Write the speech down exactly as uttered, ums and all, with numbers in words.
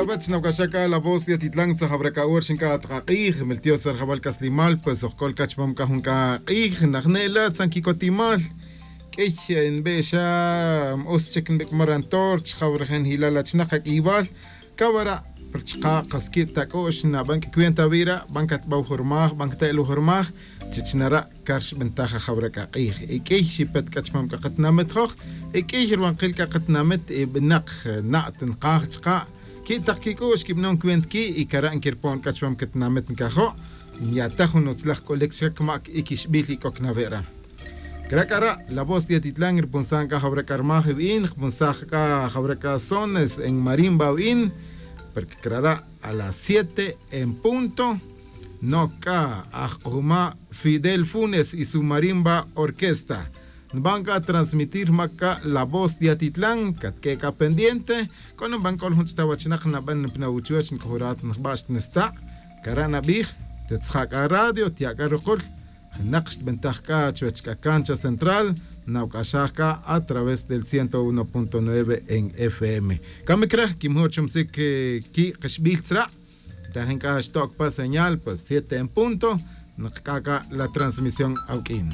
Wach nawcaxaj c'a la voz de atitlan tzajawra c'a hora xinc'at k'ak'ij miltiosa rajawal c'aslimal pues ojc'ol c'a chupam c'a jun c'a k'ij najne' la tzan quicotimal. Q'uiy nbe'xa, ma utz chic nbic'mar antor chajawra jenjilal achinak ac'iyibal. Cawara' pa chaka' kasqui' ta c'u'x naban c'a cuenta wi ra' ban catbawjurmaj ban cate'lujurmaj. Chich nara' car xbintaj ajawra c'a k'ij y q'uiy xipet c'a chupam c'a katinamit joj. Y q'uiy ruwankil c'a katinamit y binak na' ta nkaj chaka'. Qui' tak quic'u'x quibanon cuenta qui' y cara' nquirpon c'a chupam catinamit ncajo'. Nya'taj jun utzlaj c'ulic chca camac iquixbil y c'oc nawe' ra. Cra' c'a ra' la voz de atitlan rupunsan c'a jawra c'a rmaj iwin jupunsaj c'a jawra c'a sones en marimba awin. Porque cra' ra' a las siete en punto. Noc c'a ajk'ujma' fidel funes y su marimba orquesta. Nban c'a transmitir mac c'a la voz de atitlan catq'ue' c'a pendiente. C'o na nban c'ol jun ch'ta wachinak naban pa nawuchuwech nc'ujurat njba' xtnesta'. Cara' nabij. Tetzja' c'a radio tya' c'a rukul. Jenak xtbintaj c'a chuwech c'a cancha central. Nawc'axaj c'a a través del ciento uno punto nueve en fm. Camic re quimjo' chumsic qui' kaxbil tzra'. Tajin c'a xtoc pa señal pues siete en punto. Nakc'a' c'a la transmisión awq'uin.